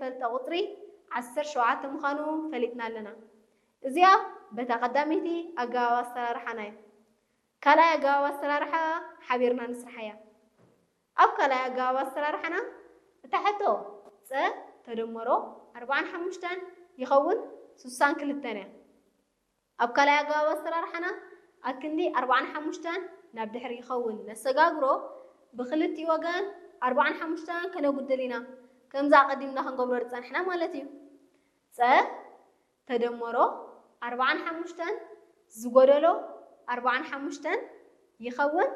ዘይተፈልጠ ቁፅሪ ዓሰርተ ሸውዓተ ምዃኑ ፈሊጥና ኣለና። እዚኣ በታ ቀዳመይቲ ኣገባብ ኣሰራርሓና እዩ። ካልኣይ ኣገባብ ኣሰራርሓ ሓቢርና ንስርሓያ። ኣብ ካልኣይ ኣገባብ ኣሰራርሓና እታ ሕቶ ፀ ተደመሮ ኣርባዓን ሓሙሽተን ይኸውን ስሳን ክልተን እያ። ኣብ ካልኣይ ኣገባብ ኣሰራርሓና ኣክንዲ ኣርባዓን ሓሙሽተን ናብ ድሕሪ ይኸውን ነሰጋግሮ ብክልቲኡ ወገን ኣርባዓን ሓሙሽተን ከነጉድል ኢና። ከምዛ ኣቐዲምና ክንገብሮ ዝፀንሕና ማለት እዩ። ፀ ተደመሮ ኣርባዓን ሓሙሽተን ዝጎደሎ ኣርባዓን ሓሙሽተን ይኸውን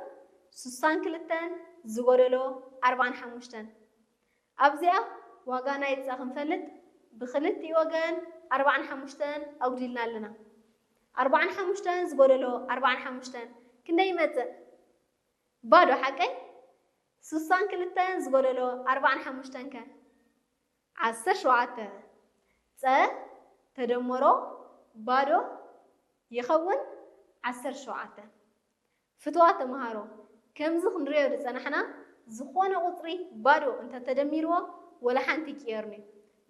ስሳን ክልተን ዝጎደሎ ኣርባዓን ሓሙሽተን። ኣብዚኣ ዋጋ ናይ ፀ ክንፈልጥ ብክልቲኡ ወገን ኣርባዓን ሓሙሽተን ኣጉዲልና ኣለና። ኣርባዓን ሓሙሽተን ዝጎደሎ ኣርባዓን ሓሙሽተን ክንደይ ይመፅእ? ባዶ ሓቀይ? ስሳን ክልተን ዝጎደሎ ኣርባዓን ሓሙሽተን ከ? ዓሰርተ ሸውዓተ። ፀ ተደመሮ ባዶ ይኸውን ዓሰርተ ሸውዓተ። ፍትዋት ተምሃሮ፣ ከምዚ ክንሪኦ ዝፀናሕና ዝኾነ ቁፅሪ ባዶ እንተተደሚርዎ ወላ ሓንቲ ይቅየርኒ።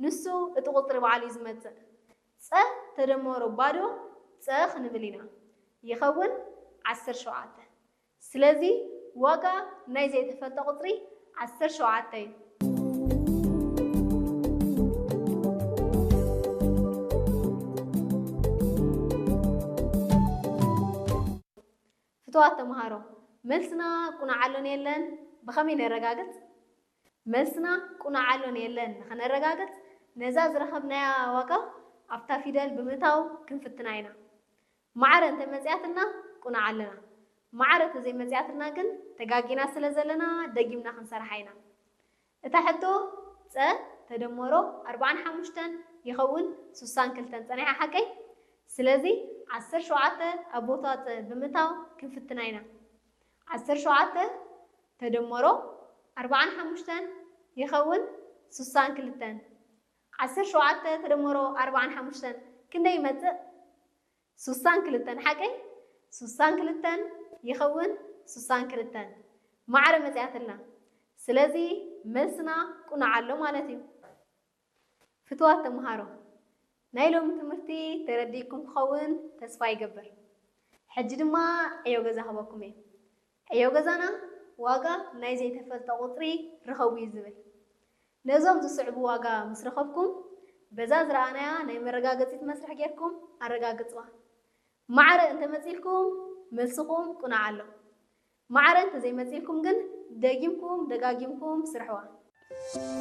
ንሱ እቲ ቁፅሪ ባዕሉ እዩ ዝመፅእ። ፀ ተደመሮ ባዶ ፀ ክንብል ኢና። ይኸውን ዓሰርተ ሸውዓተ። ስለዚ ዋጋ ናይ ዘይተፈልጠ ቁፅሪ ዓሰርተ ሸውዓተ እዩ። ፍትዋት ተምሃሮ፣ መልስና ቁኑዕ ኣሎን የለን ብኸመይ ነረጋግፅ? መልስና ቁኑዕ ኣሎን የለን ንኸነረጋግፅ ነዛ ዝረኸብናያ ዋጋ ኣብታ ፊደል ብምእታው ክንፍትና ኢና። ማዕረ እንተመፅያትና ቁኑዕ ኣለና። ማዕረ እንተዘይመፅያትና ግን ተጋጊና ስለ ዘለና ደጊምና ክንሰርሓ ኢና። እታ ሕቶ ፀ ተደመሮ ኣርባዓን ሓሙሽተን ይኸውን ስሳን ክልተን ፀኒሓ ሓቀይ? ስለዚ ዓሰርተ ሸውዓተ ኣብ ቦታ ፀ ብምእታው ክንፍትና ኢና። ዓሰርተ ሸውዓተ ተደመሮ ኣርባዓን ሓሙሽተን ይኸውን ስሳን ክልተን። ዓሰርተ ሸውዓተ ተደመሮ ኣርባዓን ሓሙሽተን ክንደይ ይመፅእ? ስሳን ክልተን ሓቀይ? ስሳን ክልተን ይኸውን ስሳን ክልተን። ማዕረ መፅያትልና። ስለዚ መልስና ቁኑዕ ኣሎ ማለት እዩ። ፍትዋት ተምሃሮ፣ ናይ ሎሚ ትምህርቲ ተረዲእኩም ክኸውን ተስፋ ይገብር። ሕጂ ድማ ዕዮ ገዛ ክበኩም እየ። ዕዮ ገዛና ዋጋ ናይ ዘይተፈልጠ ቁፅሪ ርኸቡ እዩ ዝብል። ነዞም ዝስዕቡ ዋጋ ምስ ረኸብኩም በዛ ዝረኣናያ ናይ መረጋገፂት መስርሕ ጌርኩም ኣረጋግፅዋ። ማዕረ እንተመፂልኩም መልስኹም ቁኑዕ ኣሎ። ማዕረ እንተዘይመፂልኩም ግን ደጊምኩም ደጋጊምኩም ስርሕዋ።